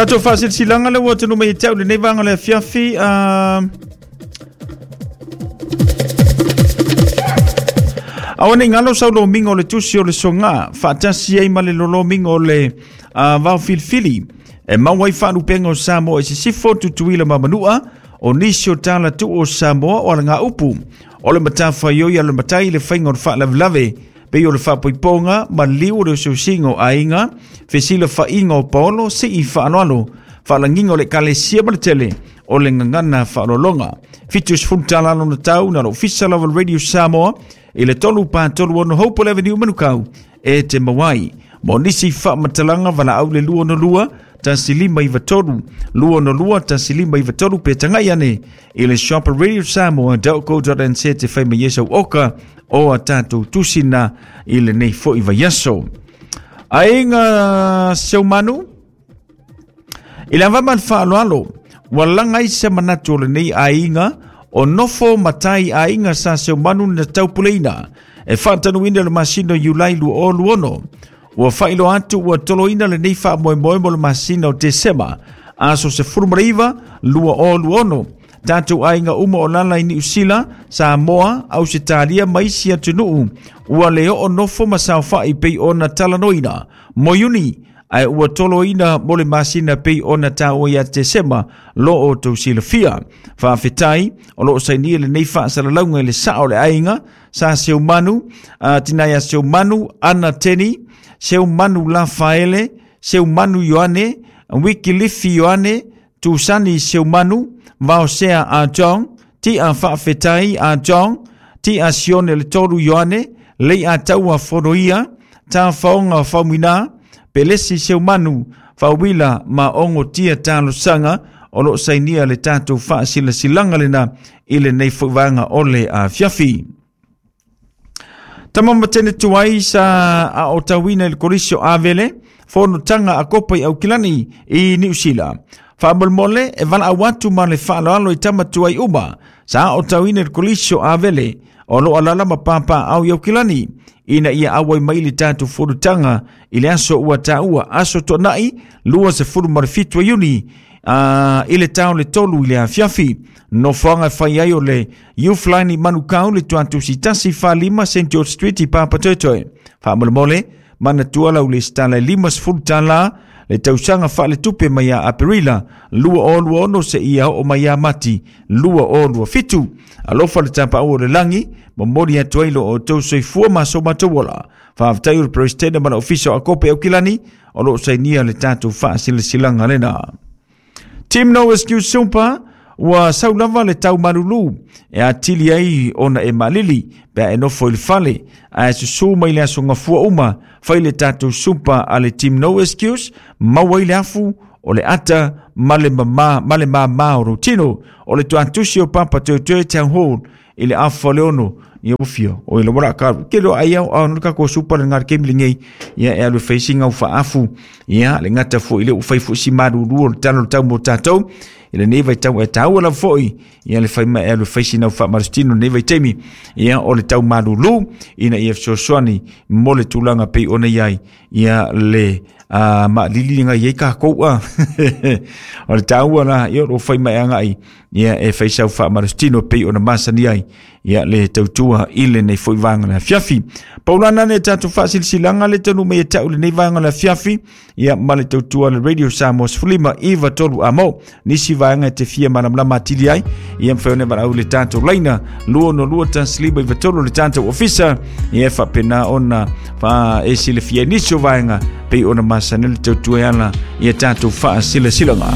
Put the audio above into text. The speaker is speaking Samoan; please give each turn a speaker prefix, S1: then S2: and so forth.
S1: Tatou faasilasilaga le ua taunuu mai ia te au lenei vaega o le afiafi. Aua nei galo sau lomiga o le tusi o le soga faatasi ai ma le lolomiga o le vao filifili e maua ai faalupega o Samoa i sisifo, Tutuila ma Manua, o nisi o tala tuu o Samoa o alagaupu o le matafaioi a le matai le faiga o le faalavelave pei o le faapoipoga ma liu o le osiosiga o aiga, fesilafaiga o paolo, sii faaaloalo, faalagiga o le ekalesia ma le tele o le gagana faaaloaloga. 70 tala lona tau na le Ofisa lava o le Radio Samoa i le 336 Hopewell Avenue Manukau e te maua ai. Mo nisi faamatalaga valaau le 262 1593 262 1593 pe tagai ane i le shop radiosamoa.co.nz te fai mai ai sau oka o a tatou tusina i lenei foi vaiaso. Aiga Seumanu, i le ava ma le faaaloalo, ua laga ai se manatu o lenei aiga o nofo matai aiga sa Seumanu na taupuleina e faatanuina le masina o Iulai 2026. Ua faailoa atu ua toloina lenei faamoemoe mo le masina o Tesema, aso 19, 2026. Tatou aiga uma o lala i Niu Sila, Samoa, Ausetalia ma isi atunuu ua le oo nofo ma saofai pei ona talanoina mo Iuni, ae ua toloina mo le masina pei ona taua ia Tesema lo outou silafia. Faafetai o lo o sainia lenei faasalalauga i le sao o le aiga sa Seumanu, Tinaia Seumanu, Ana Teni, Seumanu Lafaele, Seumanu Ioane, Wikilifi Ioane, Tusani Seumanu, Vaosea a John, Tia Faafetai a John, Tia Sione le Tolu Ioane, Lei a Taua Fonoia, Tafaoga Faumuina, Pelesi Seumanu, Fauila ma Ogo Tia Talosaga, o lo o sainia le tatou faasilasilaga lena i lenei foi vaega o le afiafi. Tama ma tene tuai sa a o tauina i le kolisi o Avele, fonotaga a Kopa i Aukilani i Niu Sila. Faamolemole e valaau atu ma le faaaloalo i tama tuai uma sa o tauina i le kolisi o Avele o lo o alala ma pāpāau i Aukilani ina ia auai mai le tatou fonotaga i le aso ua taua, aso Toonai 27 Iuni i le tao le 3 i le afiafi. Nofoaga e fai ai o le Youth Line i Manukau le tuatusi 145 St George Street i Papatoetoe. Faamolemole, manatua lau lesitala e 50 tala le tausaga faaletupe mai ia Aperila 2026 seia oo mai ia Mati 2027. Alofa le tapaau o le lagi, momoli atu ai lo outou soifua ma so matou ola. Faafetai o le Peresetene ma le Ofisa o Akope Aukilani o lo o sainia le tatou faasilasilaga lena. Team No Excuse Super, ua sau lava le tau malulu e atili ai ona e malili pe a e nofo i le fale ae susu mai le aso gafua uma fai le tatou super a le Team No Excuse maua ai le afu o le ata ma le mama ma le māmā o lou tino o le tuatusi o Papatoetoe Town Hall i le afa o le ono ia ua fia o ila wala ka ke lo ai au au ka ko supa le ngar kemi lenei ia e alu facing au faafu ia le ngata fo ile u fai fo si malulu o le talo tau mo tatou i lenei vaitau e taua lava foi ia le fai mai e alu facing au faamalositino lenei vaitaimi ia o le tau malulu ina ia fesoasoani mo le tulaga pei ona i ai ia le maalili ngai ai kākou a o le taua la ia o lo o fai mai agai ia e fai sau faamalositino pei ona masani ai ia le tautua i lenei foi vaega o le afiafi. Paulana le tatou faasilasilaga le taunuu mai ia te au lenei vaega o le afiafi ia ma le tautua le Radio Samoa 15 iva tolu amo. Nisi vaega e te fia malamalama atili ai ia mafai ona valaau le tatou laina 262 1593 le tatou ofisa ia e faapena ona fa e silafia ai nisi o vaega pei ona masani le tautua e ala ia tatou faasilasilaga.